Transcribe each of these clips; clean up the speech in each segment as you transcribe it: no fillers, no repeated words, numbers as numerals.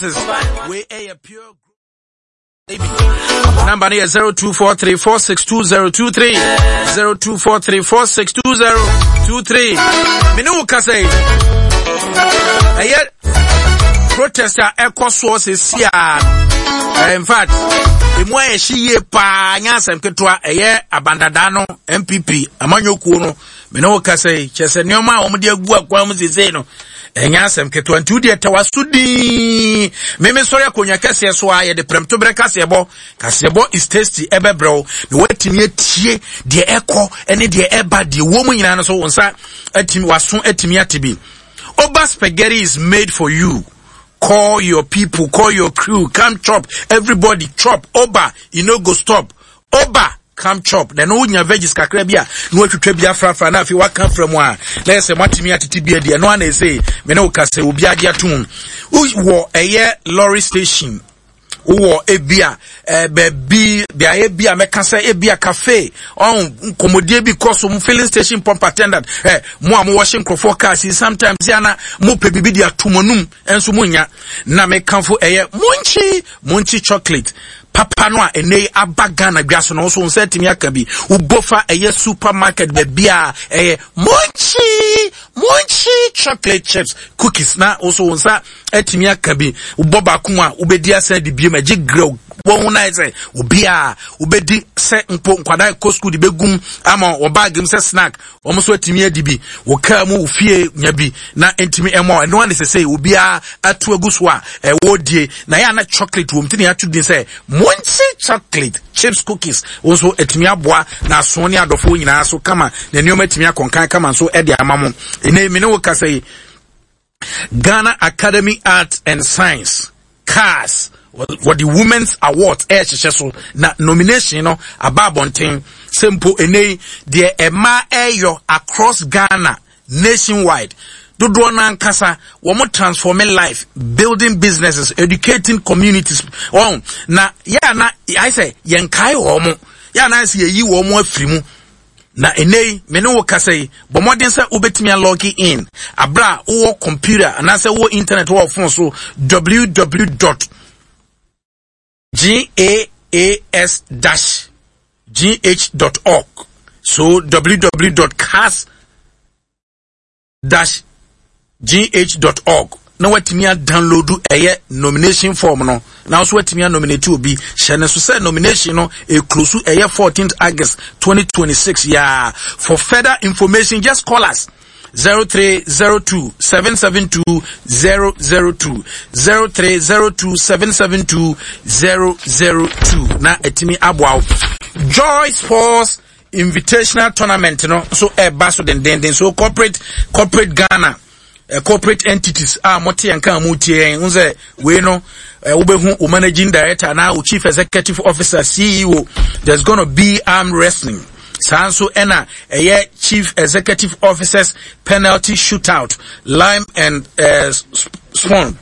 Wei ɛyɛ pure Number no yɛ 0243462023 0243462023. Mene wo kasa yi. Ɛyɛ protest a ɛkɔ soɔ sɛsi a in fact emu ayɛ hye yie paa nyɛ asɛm ketewa. Ɛyɛ abandadaa no, NPP amanyɔkuo no. Mene wo kasa yi, kyerɛ sɛ nneɛma a wɔde agu akwan mu sesei no ɛnyɛ asɛm ketewa, nti wodeɛ tɛ waso din. Meme sɔre akonnwa kɛseɛ so a yɛde prɛmtoberɛ kaseɛbɔ, Kaseɛbɔ is tasty, ɛbɛbrɛ wo na woatumi atie deɛ ɛkɔ ne deɛ ɛba, deɛ wɔ mu nyinaa no so wo nsa atumi, waso atumi ate bi. Oba spaghetti is made for you. Call your people, call your crew, come chop, everybody chop. Oba, you no go stop. Oba, come chop. Na ɛno wonya veggies kakra bi a na watwitwa bi afrafra na afei waka afra mu a na ɛsɛ moatumi atete bi adi. Ɛno ana ɛsɛ me ne wo ka sɛ obi agye atom. Wowɔ ɛyɛ lorry station, wowɔ ebi a baabi beaeɛ bi a mɛka sɛ ebi a cafe ɔn nkɔmmɔdie bi kɔ so, filling station pump attendant, mo a mowɔ hye nkurɔfoɔ kaa si sometimes yɛ ana mopɛ biribi de ato mo anum nso monya, na mekamfo ɛyɛ Munchie Munchie chocolate papa no a ɛnɛ yi aba Ghana dwa so no nso nsa atumi aka bi. Wobɔ fa ɛyɛ supermarket baabi a ɛyɛ Munchie Munchie chocolate chips cookies na nso wo nsa atumi aka bi. Wobɔ baako mu a wobɛdi asan de biem agye grɛw wɔn ho nan sɛ obiara wobɛdi sɛ mpo nkwadaa kɔ sukuu de bɛgum ama wɔn baage mu sɛ snack, wɔn nso atumi adi bi wɔ kaa mu, wɔ fie nya bi na ntumi ɛmɔ. Ɛno ara ne sɛ obiara atu agu so a ɛwɔ die na yɛ ana chocolate wɔm ti na yɛato din sɛ Munchie chocolate chips cookies. Wɔn nso atumi aboa na aso ne adɔfoɔ nyinaa so kama na nneɛma atumi akɔnkan kama nso ɛde ama mo. Ɛnɛ me ne wo kasa yi, Ghana Academy Arts and Science, CAS, wɔde Women's Awards ɛrehyehyɛ so na nomination no aba abɔnten sɛ mpo ɛnɛ yi deɛ ɛma ɛyɔ across Ghana, nationwide, dodoɔ no ankasa wɔn transforming life, building businesses, educating communities wɔn na yɛ ana ayɛ sɛ yɛn kae wɔn, yɛ ana ayɛ sɛ yɛyi wɔn afiri mu. Na ɛnnɛ yi, me ne wo kasa yi, bɔ mmɔden sɛ wobɛtumi alɔge in aberɛ a wowɔ computer anaasɛ wowɔ internet wɔ phone so, www gaas dash gh dot org, so www cas dash gh dot org, na watumi adownload ɛyɛ nomination form no na nso watumi anominate obi. Hyɛ ne so sɛ nomination no eklosu ɛyɛ 14th August 2026 yaa. For further information, just call us 0302 772 002, 0302 772 002, na etimi aboa wo. Joy Sports Invitational Tournament no nso ɛreba so dendenden. So corporate Ghana, corporate entities a mote yɛn ka a motie yɛn ho sɛ wei no, wobɛhu wo managing director na wo chief executive officer, CEO. There's gonna be arm wrestling. Saa nso ɛna ɛyɛ chief executive officers penalty shootout, lime and spoon,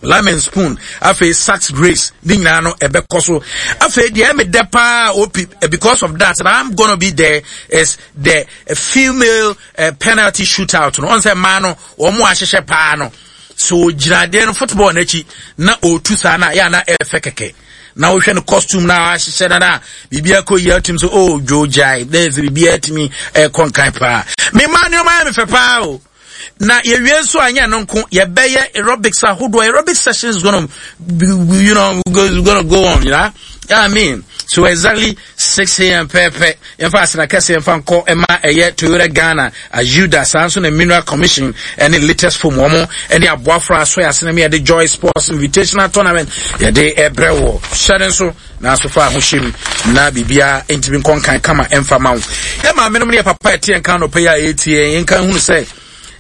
lime and spoon, afei sax race ne nyinaa no ɛbɛkɔ so. Afei deɛ ɛmi dɛ paa op because of that na I'm gonna be there is the female penalty shootout no. Ɔn sɛ mmaa no wɔn ahyehyɛ paa no so gyina adeɛ no football n'akyi na ɔretu saa na yɛ ana ɛfɛ kɛkɛ na wohwɛ no costume na ahyehyɛ na na biribi akɔ yie atum so oh dwo gyae na ɛsɛ biribi atumi ɛkɔ nkan paa. Mmaa nneɛma yɛ me fɛ paa o. Na yɛwie nso a nyɛ no nko, yɛbɛyɛ aerobics ahodoɔ. Aerobic sessions gonna you know gonna go on, yeah, I mean, so exactly 6 a.m. pɛpɛ yɛmfa asena kɛse yɛmfa nkɔ ɛma ɛyɛ Toyota Ghana, Ayuda, saa nso na Mineral Commission ɛne latest form wɔn ɛne aboafra aso yɛ asena mi yɛde Joy Sports Invitational Tournament yɛde ɛbrɛ wɔ hyɛ ne nso nanso fa ahohyɛ mu na biribiara ntumi nkɔ nkan kama ɛmfa ma wo. Yɛ maame nom ne yɛ papa ɛte yɛn kan nɔpɛ yi a ɛretie yɛn, yɛn kan hunu sɛ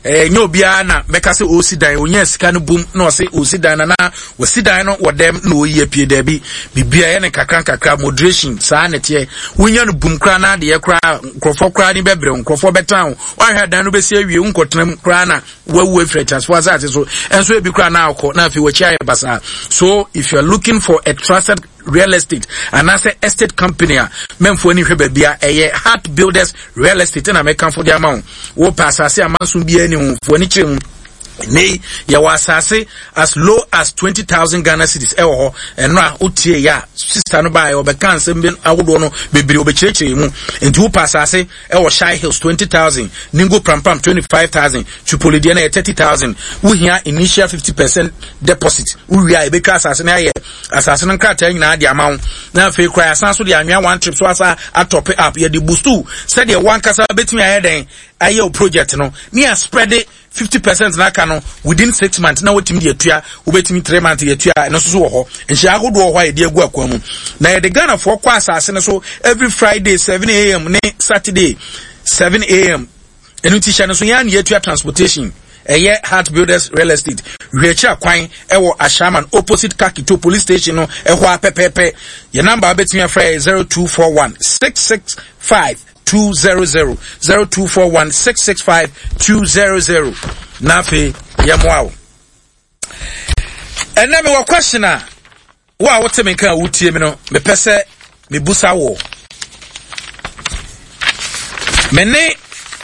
ɛnyɛ obiara na bɛka sɛ ɔresi dan, ɔnya sika no bum na ɔse ɔresi dan na wɔsi dan no wɔ dɛm na ɔyi apue. Daabi, biribiara yɛ ne kakra nkakra, moderation saa ne teɛ. Wonya no bum koraa na adeɛ koraa nkurɔfoɔ koraa ne bɛbrɛ, nkurɔfoɔ bɛtan wo, woahwɛ dan no bɛsi awie wonkɔtena mu koraa na wawu afiri ateasefoɔ asase so ɛnso ebi koraa na akɔ na afei wakyi ayɛ basaa. So if you are looking for a trusted real estate anaasɛ estate company a mɛmfoɔ ani hwɛ baabi a ɛyɛ Heart Builders Real Estate na mɛkamfo de ama wo. Wopɛ asase a manso biara ni ho, foɔ ani kyerɛ mu. Nnɛ yi, yɛwɔ asase as low as 20,000 Ghana cedis ɛwɔ hɔ. Ɛno a wotie yɛ a, sista no baeɛ ɔbɛka nsɛm bi ahodoɔ no bebree ɔbɛkyerɛkyerɛ mu. Nti wopɛ asase ɛwɔ Shai Hills 20,000, Ningo Prampram 25,000, Tripoli deɛ no yɛ 30,000. Wohia initial 50% deposit. Wowie a yɛbɛtwa asase no ayɛ asase no nkrataa nyinaa de ama wo. Na afei koraa yɛasan so de anwea one trip so asa atɔpe up. Yɛde bustu sɛdeɛ wankasa bɛtumi ayɛ dɛn ayɛ wo project no ne yɛaspreade 50 percent na aka no within 6 months na wotumi de atua. Wobɛtumi 3 months de atua. Ɛno nso so wɔ hɔ. Nhyɛ ahodoɔ wɔ hɔ a yɛde agu akwan mu na yɛde Ghanafoɔ kɔ asase no so every Friday 7 a.m. ne Saturday 7 a.m. Ɛno nti hyɛ no so, yɛn a na yɛatua transportation. Ɛyɛ Heart Builders Real Estate. Hwɛ akwan ɛwɔ Ashaiman, opposite Kakito Police Station no ɛhɔ a pɛpɛɛpɛ. Yɛn number a wobɛtumi afrɛ yɛ 0241 665 200, 0241 665 200. Na afei yɛmmoa wo. Ɛnɛ mewɔ question a wo a wote me nka a wotie me no, mepɛ sɛ mebusa wo. Me ne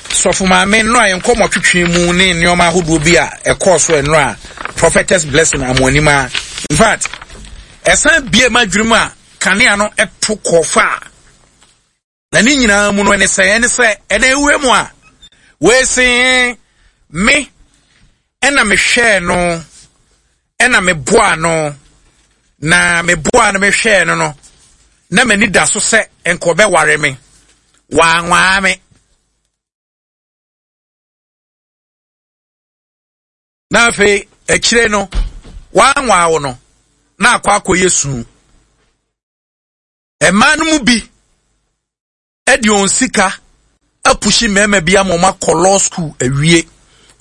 sɔfo maame nnora yɛn nkɔmmɔ twetwe mu ne nneɛma ahodoɔ bi a ɛkɔɔ so nnora, Prophetess Blessing Amoanim a in fact ɛsan bie ma adwene mu a kanea no ɛto kɔfa a na ne nyinaa mu no ɛne sɛ ɛna ewura mu a wɔesi me ɛna mehwɛɛ no, ɛna meboa no, na meboa no, mehwɛɛ no, na m'ani da so sɛ nka ɔbɛware me, wanwaa me. Na afei akyire no wanwaa wo no na akɔ akɔyɛ suu. Mmaa no mu bi de wɔn sika apushi mmarima bi ama wɔn akɔ law school awie.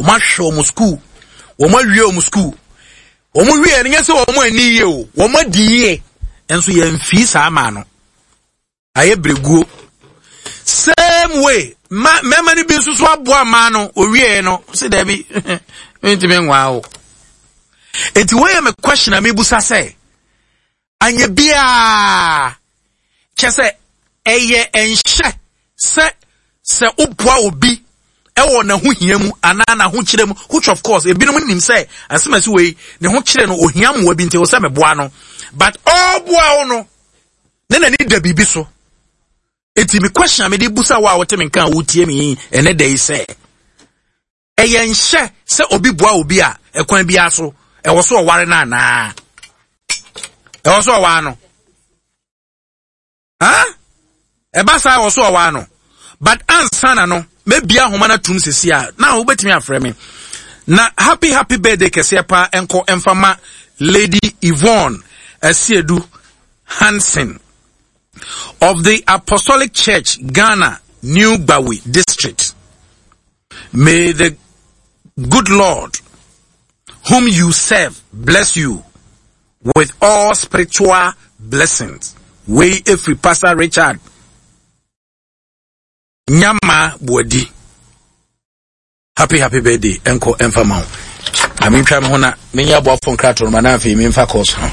Wɔn ahwɛ wɔn school, wɔn awie wɔn school. Wɔn wie no nyɛ sɛ wɔn ani yie o, wɔn adi yie. Nso yɛn mfii saa maa no. Ayɛ bereguo. Same way, ma mmarima no bi nso so aboa mmaa no owie no sɛ daabi, mentumi nwaa wo. Eti wɔyɛ me question a mebusa sɛ, anyɛ biara kyɛ sɛ ɛyɛ nhyɛ sɛ woboa obi ɛwɔ n'ahohia mu anaa n'ahokyerɛ mu, which of course ebinom nim sɛ asɛmasi wei ne ho kyerɛ no, ohia mmoa bi nti wɔ sɛ meboa no, but ɔboa wo no ne n'ani da biribi so. Eti me question a mede busa wo a wote me nka a wotie me yi ɛnɛ da yi sɛ, ɛyɛ nhyɛ sɛ obi boa obi a, ɛkwan biara so ɛwɔ so ɔware no anaa ɛwɔ so ɔware no? Ha ɛba saa, ɛwɔ so ɔware no? But ansa na no mɛbia ahoma no atum sisi a na wobɛtumi afrɛ me. Na happy happy birthday kɛseɛ paa ɛnkɔ ɛmfa ma Lady Yvonne Asiedu Hansen of the Apostolic Church Ghana, New Gbawe District. May the good Lord whom you serve bless you with all spiritual blessings. Wei efiri Pastor Richard Nyama Buadi. Happy happy birthday ɛnkɔ ɛmfa ma wo. Na mentwa me ho na menyɛ aboafo nkratoɔ no ma na afei memfa course no.